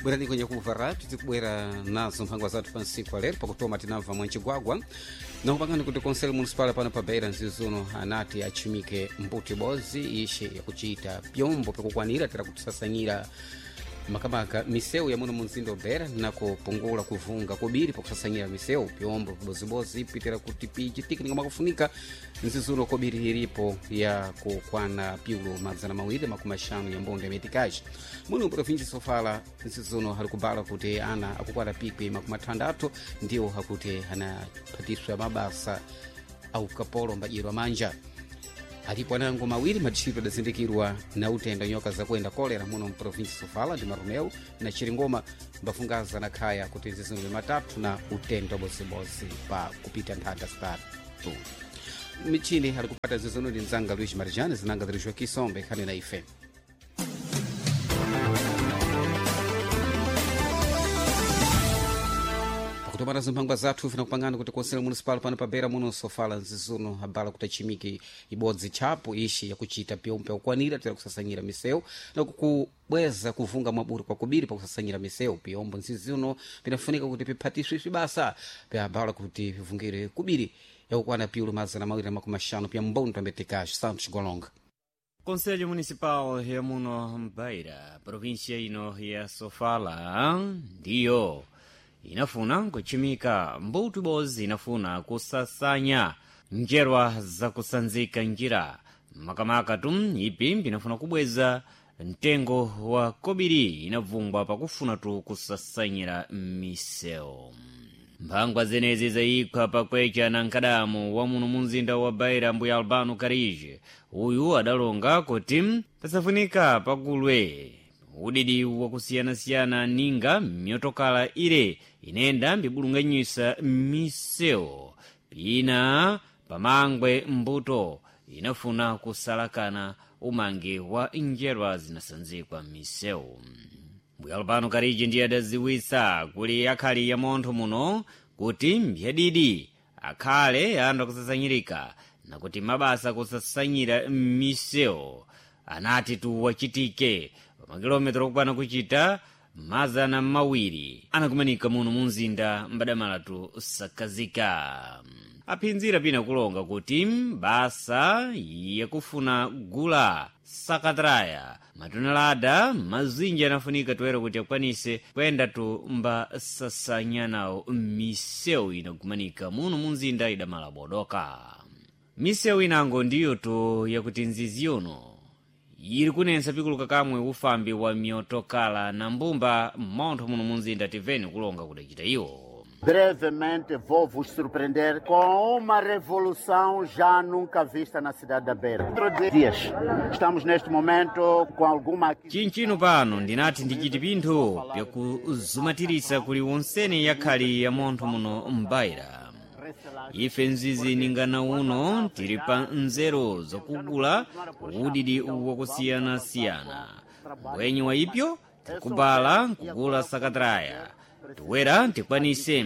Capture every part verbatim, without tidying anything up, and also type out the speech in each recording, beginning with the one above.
Bwerani kwenye kumva tizikubwera nazo mphangwa zathu pa ntsiku alero pakutoma tinamva mwancigwagwa nakupangani kuti konselo municipal pano pa Beira mzizuno anati achimike mbuti bozi ishe yakuchita pyombo pyakukwanira tera kutisasanyira makamaka misewu ya muno mu mzinda wa Beira nakupungula kuvunga kobiri pakusasanyira misewu pyombo pibozibozi pitira kuti pichitike ningamakufunika mzizuno kobiri ilipo ya kukwana piulo madzana mawiri makumi axanu ya mbondo ya metikaji muno provinsi Sofala mzizuno ali kubala kuti ana akukwana pikwi makumi athandathu ndiwo akuti anaphatiswa mabasa aukapolo mbadyerwa manja. Alipo anango mawiri maditchito adazindikirwa na utenda nyoka zakuenda kolera muno mprovinsi Sofala ndi Maromeu na Chiringoma mbafungaza na khaya kuti zizindikiro matatu na utenda bozibozi pa kupita nthanda zitatu. Michini ali kupata zizono ndi mzanga Luis Marijani zinanga zilijwa Kisombe khani na ife. Pakutomana zimphangwa zathu vinakupangana kuti konselo municipal pano pa Beira muno Sofala nzizuno abala kuti achimike ibodzi tchapo ishi yakuchita pyombo pyakukwanira tera kusasanyira misewu na kukubweza kuvunga mwaburi kwakubiri pakusasanyira misewu. Pyombo nzizuno pinafunika kuti piphatiswe basa pyabala kuti pivungire kubiri yakukwana piulo mazana mawiri na makumi axanu pya mbondo ambetekaji. Santos Golonga. Conselho Municipal ya muno Beira, província ino ya Sofala, ndiyo inafuna kuchimika mbuto ibodzi inafuna kusasanya njerwa zakusanzika njira makamaka tu ipi pinafuna kubweza mtengo wa kobiri inavungwa pakufuna tu kusasanyira misewu. Mphangwa zenezi zayikhwa pakwecha na nkadamu wa muno munzinda wa Beira, mbuya Albano Karije. Uyu adalonga kuti pasafunika pagulwe udidi wakusiyanasiyana ninga myotokala ile inenda mbibulunganyisa misewu pina pamangwe mbuto inafuna kusalakana umangi wa njerwa zinasanzikwa misewu. Mbuya Albano Kariji ndiye adaziwisa kuli akhali ya montho muno kuti mbyadidi akhale anthu akusasanyirika nakuti mabasa kusasanyira misewu anati tuwachitike pamakilometero okwana kuchita mazana mawiri anakumanika muno munzinda mbadamalatu sakazika. Aphinzira pina kulonga kuti basa yakufuna gula sakatraya matonelada mazinji anafunika toera kuti akwanise kuyenda tu mbasasanyanawo misewu inakumanika muno munzinda idamala bodoka. Misewu inango ndiyo tu yakuti nzizi yono ili kunensa pikuluka kamwe ufambi wa miotokala na mbumba mmontho muno munzinda. Tiveni kulonga kudacita iwo. Brevemente vou vos surpreender com uma revolução já nunca vista na cidade da Beira. Dias. Estamos neste momento com alguma. Chinchino pano ndinati ndichiti pinthu pyakuzumatirisa kuli wonsene yakhali ya montho muno mbaira. Ife mzizi ningana uno tili pa nzeru zokugula udidi wakusiyanasiyana mbwenyi wa ipyo tikubala nkugula sakatraya tiwera tikwanise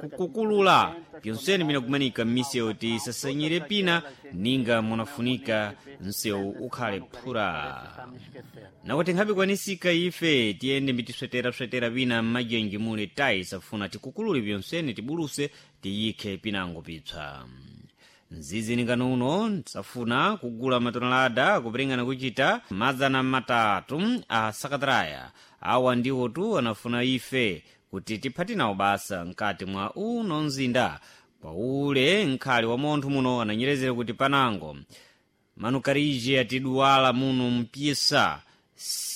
kukukulula pyonsene pinakumanika m'misewu tisasanyire pina ninga munafunika msewu ukhale phura nakuti nkhabe kwanisika ife tiyende mbitisweteraswetera pina m'majenji muli tayi safuna tikukulule pyonsene tibuluse tiyikhe pinango pipsa. Mzizi ningano uno safuna kugula matonelada kupringana kuchita mazana matatu a sakatraya. Awa ndiwo tu anafuna ife kuti tiphati nawo basa mkati mwa uno mzinda kwaule nkhali wa montho muno ananyerezera kuti panango manukarije atiduwala muno mpisa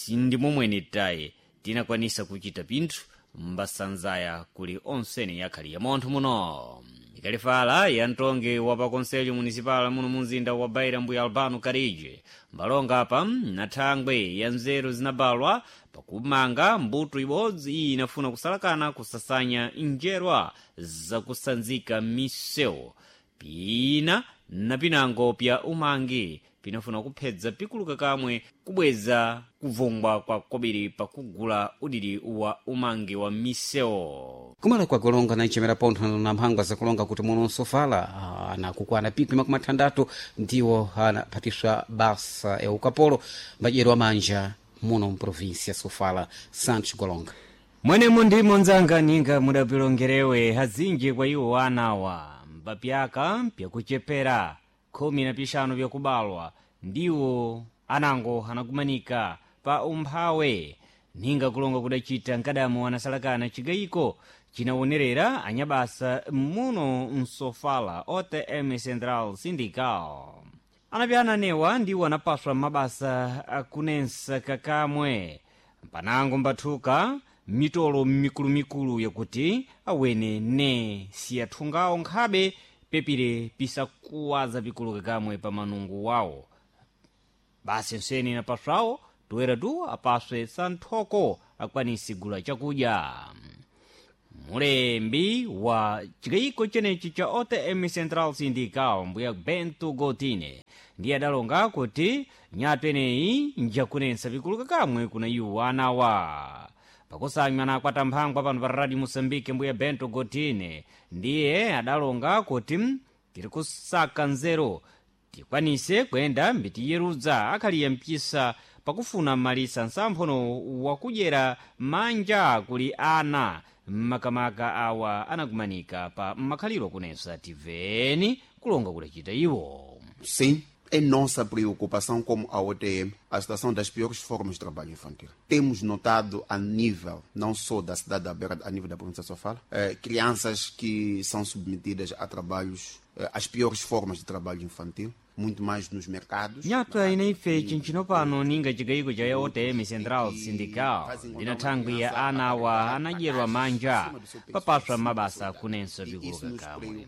ndi momwene tayi tinakwanisa kuchita pinthu mbasanzaya kuli onsene yakhali ya montho muno. Ikalifala ya mtongi wa pa konselho municipal muno munzinda wa Beira, mbuya Albano Karije mbalonga apa na thangwe ya nzeru zinabalwa pakumanga mbuto ibodzi iyi inafuna kusalakana kusasanya njerwa zakusanzika misewu pina na pinango pya umangi pinafuna kuphedza pikuluka kamwe kubweza kuvungwa kwa kobiri pakugula udidi wa umangi wa misewu. Kumala kwa kulonga na nchemera pontho na mphangwa zakulonga kuti muno Sofala anakukwana pikwi makumi athandathu ndiwo anaphatiswa basa ya ukapolo mbadyero wa manja muno mprovinsi ya Sofala. Santos Golonga. Mwenemo ndimo nzanga ninga mudapilongerewe azinji kwa iwo anawa mbapyaka pyakuchepera khumi na pixanu pyakubalwa ndiwo anango anakumanika pa umphawe ninga kulonga kudacita nkadamo anasalakana cigayiko cinawonerera anyabasa muno msofala O T M Central Sindical. Anapyana anewa ndiwo anapaswa mabasa akunensa kakamwe mpanango mbathuka mitolo mikulumikulu yakuti awene ne siyathungawo nkhabe pepire pisakuwaza pikulu kakamwe pa manungu wawo. Basi nseni napaswawo toera tu apaswe santhoko akwanisi gula chakudya. Mulembi wa chikayiko chenechi cha O T M Central Sindical, mbuya Bento Gotine, ndiye adalonga kuti nyatu eneyi njakunensa pikulu kakamwe kuna iwo anawa. Pakusanywa nakwata mphangwa pano pa Radio Moçambique, mbuya Bento Gotine ndiye adalonga kuti tiri kusaka nzeru tikwanise kuyenda mbitiyerudza akhaliya mpisa pakufuna malisa nsamphono wakudyera manja kuli ana, makamaka awa anakumanika pa makhaliro kunensa. Tiveni kulonga kudacita iwo. Sim, é nossa preocupação como a O T M a situação das piores formas de trabalho infantil. Temos notado a nível, não só da cidade da Beira, a nível da província de Sofala, eh, crianças que são submetidas a trabalhos, eh, às piores formas de trabalho infantil, muito mais nos mercados. Nyatwa inaife chinchino pano ninga chigayiko cha O T M Central Sindical ndina thangwi ya ana awa anadyerwa manja papaswa mabasa kunenso pikulu kakamwe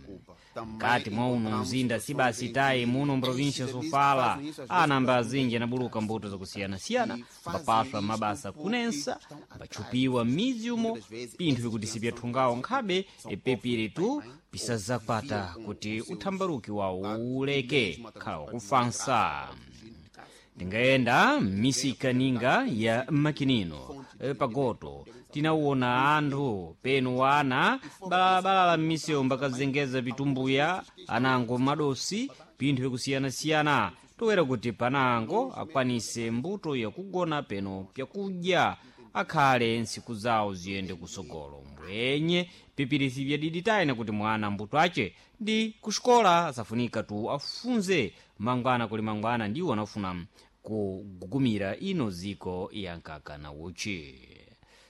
mkati mwa uno mzinda sibasi tayi muno mprovinsia Sofala. Ana azinji anabuluka mbuto zakusiyanasiyana mbapaswa mabasa kunensa mbatchupiwa m'mizi umo pinthu vikuti sipyathungawo nkhabe epepire tu pisazakwata kuti uthambaluki wawo uleke khala wakufansa. Tingayenda m'misika ninga ya makinino e, pagoto tinawona anthu penu wana balabalala m'misewu mbakazengeza pitumbuya anango madosi pinthu vyakusiyanasiyana toera kuti panango akwanise mbuto yakugona peno pyakudya akhale ntsiku zawo ziyende kusogolo mbwenye pipirisi vyadiditayina kuti mwana mbuto ace ndi kuxikola asafunika tu afunze mangwana kuli mangwana ndiwo anafuna kugugumira ino ziko ya nkaka na uchi.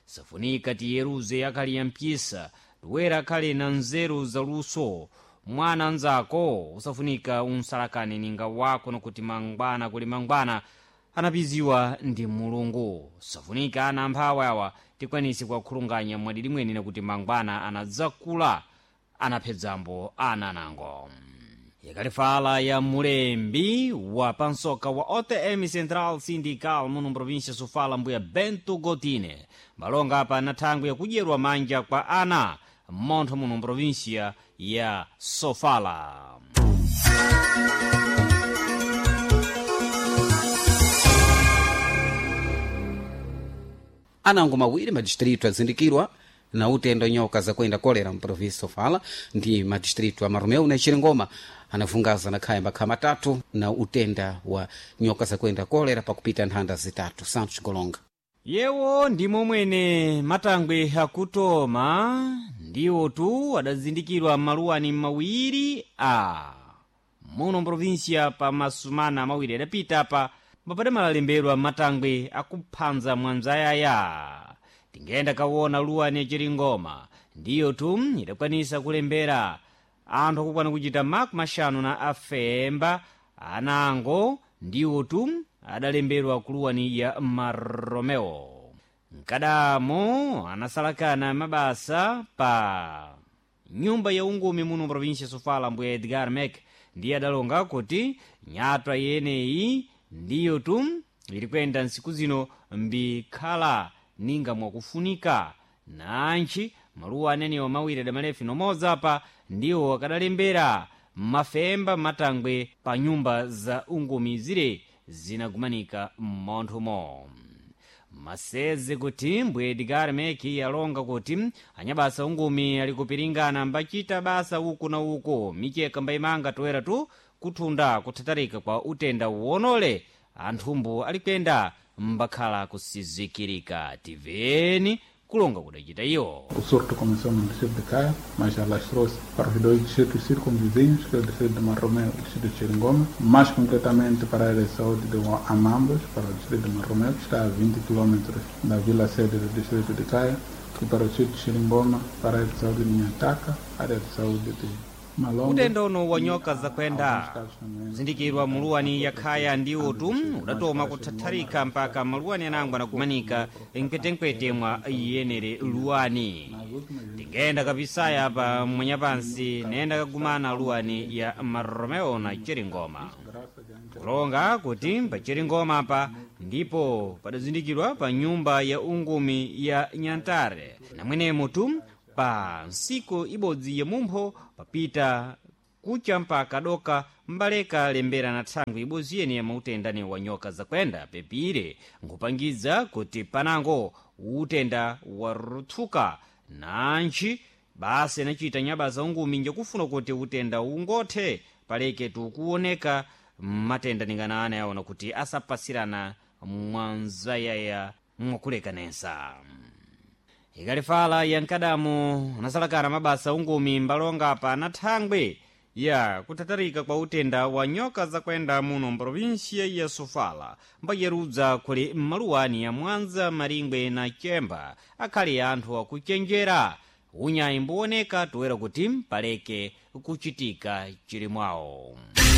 Safunika tiyeruze akhali ya mpyisa toera akhale na nzeru zaluso. Mwana nzako usafunika unsalakane ninga wako nokuti mangwana kuli mangwana anapiziwa ndi Mulungu. Safunika ana amphawi awa tikwanise kuwakhulunganya mwadidi mwene nakuti mangwana anadzakula anaphedzambo ana anango. Yakalifala ya mulembi wa pansoka wa O T M Central Sindical muno mprovinsia Sofala, mbuya Bento Gotine, malonga apa na thangwi yakudyerwa manja kwa ana mmontho muno mprovinsia ya Sofala. Anango mawiri madistritu azindikirwa na utendo nyoka zakuenda kolera mprovinsi Sofala ndi madistritu a Marumeu na Chiringoma anavungaza na khaya makha matatu na utenda wa nyoka zakuenda kolera pakupita nthanda zitatu. Santos Golonga. Yewo ndimo mwene matangwe akutoma ndiwo tu adazindikirwa maluwani mawiri a muno mprovinsia pa masumana mawiri adapita pa mapade malalembedwa matangwe akuphanza mwanzayaya. Tingenda kawona luwani yachiringoma ndiyo tu idakwanisa kulembera anthu akukwana kuchita makumi axanu na afemba anango ndiwo tu adalembedwa kuluwani ya Maromeo. Mkadamo anasalakana mabasa pa nyumba ya ungumi muno provinsia Sofala, mbuya Edgar Mek, ndiye adalonga kuti nyatwa yeneyi ndiyo tu ili kuyenda ntsiku zino mbikhala ninga mwakufunika nantchi maluwa anenewo mawiri adamalefi nomodzi apa ndiwo akadalembera mafemba matangwe pa nyumba za ungumi zire zinagumanika m'monthomo. Maseze kuti mbuye Edgar Meki alonga kuti anyabasa ungumi ali kupiringana mbachita basa uku na uku micheka mbayimanga toera tu kuthunda kuthatarika kwa utenda wonole anthumbu ali kuyenda mbakhala kusizikirika. Tiveni Kulonga kudacita iwo. O surto começou no distrito de Caia, mas alastrou-se para os dois distritos circunvizinhos, que é o distrito de Marromeu e o distrito de Cheringoma, mais concretamente para a área de saúde de Amambos, para o distrito de Marromeu, que está a vinte quilômetros da vila sede do distrito de Caia, e para o distrito de Cheringoma, para a área de saúde de Nhataka, área de saúde de Malongo. Utenda uno wa nyoka zakwenda kuzindikirwa muluwani yakhaya ndi utu udatoma kuthatharika mpaka maluwani anangwa nakumanika mkwetenkwete mwa iyenere luwani. Tingenda kapisaya pa mwanyapansi nayenda kagumana luwani ya Maromeo na Cheringoma, kulonga kuti pa Cheringoma pa ndipo padazindikirwa pa nyumba ya ungumi ya Nyantare, namwenemo tu pa nsiku ibodzi ya mumpho papita kucha mpaka doka mbaleka lembera na thangwi ibodzi yene ya mautendani wa nyoka zakwenda pepire nkupangiza kuti panango utenda waruthuka nantchi. Basi anachita nyabasa ungumi njakufuna kuti utenda ungothe paleke tukuoneka matenda ningana ana yaona kuti asapasirana mwanzayaya mwakulekanesa. Ikalifala yankadamu anasalakana mabasa ungumi mbalonga pa na thangwi ya kuthatarika kwa utenda wa nyoka zakwenda muno mprovinsia ya Sofala, mbayerudza kuli mmaluwani ya Mwanza, Maringwe na Chemba akhali anthu akuchenjera unyayi mbuoneka toera kuti mpaleke kuchitika chilimwawo.